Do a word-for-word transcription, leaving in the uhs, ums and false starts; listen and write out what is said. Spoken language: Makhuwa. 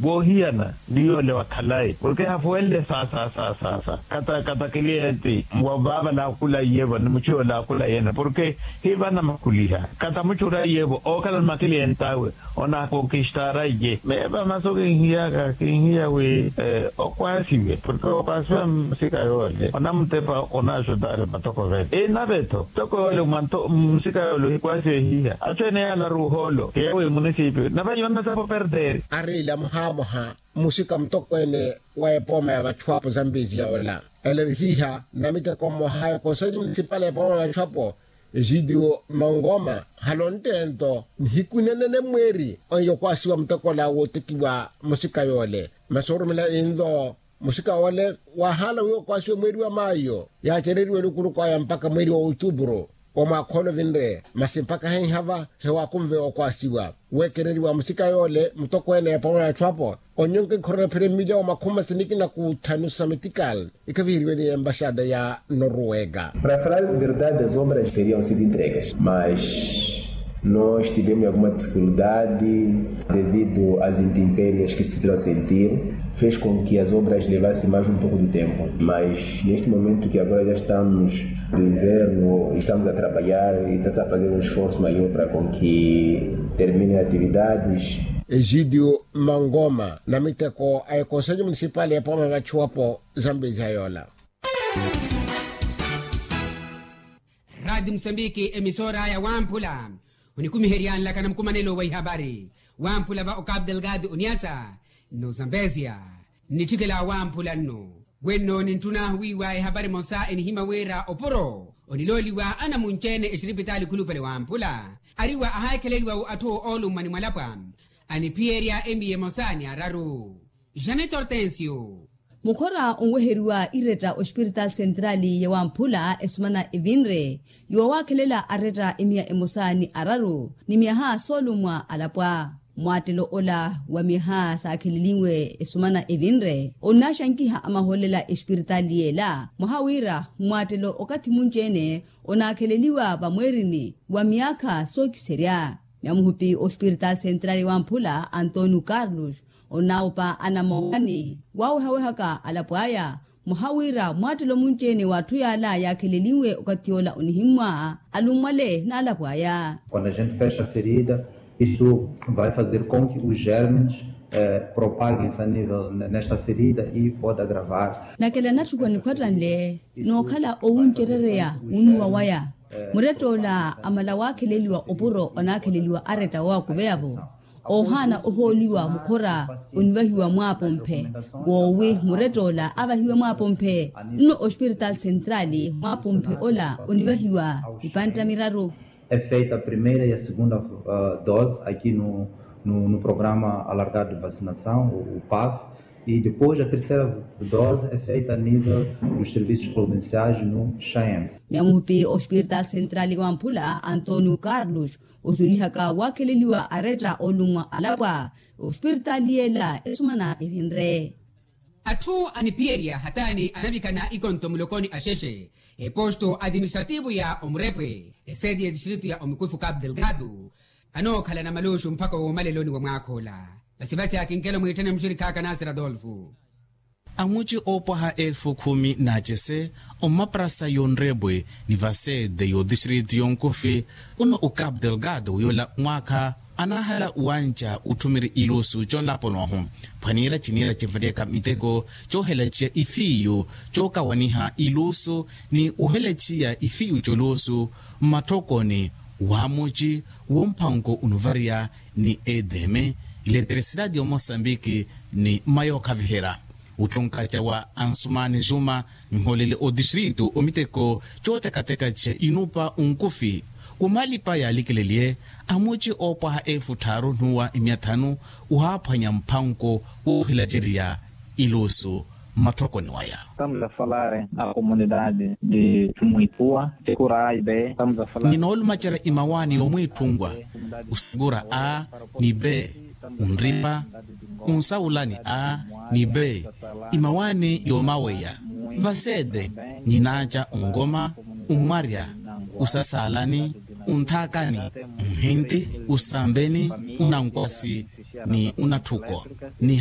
Woohiyana ni yoole wa khalayi porke hafuwenle saasa saasa kata kata kiliye ti wa vaava laakhula iyevo ni muchu yoole aakhula iyene porke hi vana makhuliha kata muchu ora iyevo ookhala ni makiliye ntaawe. Onaakonkistara iye meepa masu kinhiyaka kinhiya wi okwaasiwe porke okwaasiwa musika yoole onamutepa onaaxutari matoko vene inave-tho ntoko yoole mwa musika yoole ohikwaasiwe hiiha atthu ene yaalaru ohoolo keewi munisipi nave yoona sapo perderi. Ariila muhaamuha musika mutokweene wa epooma ya vachu apo zambiziya ola ela eri hiiha namiteko mmoha ya konsellu munisipali ya epooma ya vachu apo egidio mangoma halontteento nihiku nenene mweeri onyokwasiwa mutekola wootekiwa musika yoole masi orumela inlo musika woole waahaala wi okwaasiwe mweeri wa maayo yaacereriwe elukuruku aya mpakha mweeri wa outupuru wa mwaakha ole ovinre masi mpakha henhava hewaakunve okwaasiwa weekereriwa musika yoole mutokweene ya epooma ya vachu apo onyonka ikhorona phira emilya wa makhumi masiniki na kuutthanu sa metikal ikhaviheriwene ya embaxada ya noruwega. Para falar verdade as obras teriam sido entregas mas nós tivemos alguma dificuldade devido as intemperias que se fizeram sentir fez com que as obras levassem mais um pouco de tempo mas neste momento que agora já estamos no inverno estamos a trabalhar e está-se a fazer um esforço maior para com que terminem atividades. Egidio mangoma namiteko a ekonsellu munisipali ya epooma ya vachu apo zambiziya yoola. Radi musambiki emisora ya wamphula onikumiherya nlaka na mukumanelo wa ihabari wamphula va okapu delgado oniasa nno zambesia nnitthikela wamphula nno wenno nintthuna wiiwa ehabari emosa enihimya wira opuro onilooliwa anamunci-ene exiripitaali khulupale wamphula ariwa ahaakheleliwa-wo atthu oolummwa ni mwalapwa aniphiyerya emiya emosa ni araru. Janet hortensio. Mukhora onweheriwa iretta ospiritaali sentrali ya wamphula esumana evinre yoowaakhelela aretta emiya emosa ni araru ni myaha soolummwa alapwa mmwattelo ola wa myaha saakheleliwe esumana evinre onnaxankiha amahoolela espiritaali yeela mwaha wira mmwattelo okathi munci-ene onaakheleliwa vamweerini wa myaakha sookiserya. Nyamuhupi ospiritaali sentrali wamphula antonio carlos onnaawupa anamowani waawehawehaka alapo aya mwaha wira mwaattelo munci-ene w'atthu yaala yaakheleliwe okathi yoola onihimmwa alummwale n'alapo aya. Quando a gente fecha a ferida isto vai fazer com que os germes propaguem-se a nível nesta ferida e pode agravar. Nakela natthukuwa nikhwattanle nookhala owuncerereya wunnuwa waya murett'ola amala waakheleliwa opuro onaakheleliwa aretta owakuveya-vo oohaana ohooliwa mukhora onivahiwa mwaapomphe woowi murett'ola avahiwe mwaapomphe nno ospiritaali sentrali mwaapomphe ola onivahiwa ipantta miraru. É feita a primeira e a segunda dose aqui no programa alargado de vacinação o paf e depois a terceira dose é feita a nível dos serviços provinciais no chaem. Nyamuhupi ospiritaali sentrali wamphula antonio carlos osulihaka waakheleliwa aretta olummwa alapwa ospiritaali yeela esumana evinre. Atthu aniphiyerya hataani anavikana ikonto mulokoni axexe eposto administrativo ya omurepwe eseti ya distrito ya omikufu capu delgado anookhalana maluxu mpakha woomaleloni wa mwaakha ola. Vasivasi akinkelo mwiitthene muxirikhaaka nasir adolfo. Amuci oopwaha elfu khumi n'acese omaparasa y'onrepwe ni vasete y'odistrito y'onkufi uno o capu delgado yoola mwaakha anaahala wanca utthumiri ilusu conlaponohu phwaniira ciniira cinvaliyaka miteko coohelaciya ifiyu cookawaniha ilusu ni ohelaciya ifiyu c'olusu mmatthokoni w'amuci w'omphanko onuvariya ni eteme ileterisitati y'omosambiki ni mmayookhaviherya. Otthunkaca wa ansumani juma nihoolele otistritu omiteko cootekateka ca inupa onkufi womalipa yaalikeleliye amuci oopwaha elfu tthaaru n'uwa imiya thanu ohaaphwanya mphanko woohilaceriya ilusu mmatthokoni waya. Estamos a falar a comunidade de muitua. Ninoolumacerya imawaani yoomwiitthunwa osikura a ni be onripa onsaulani a ni be imawaani yoomaweya vasete ninaaca onkoma onmwarya osasaalani onthaakani onhinti osambeni onankwasi ni onatthuko ni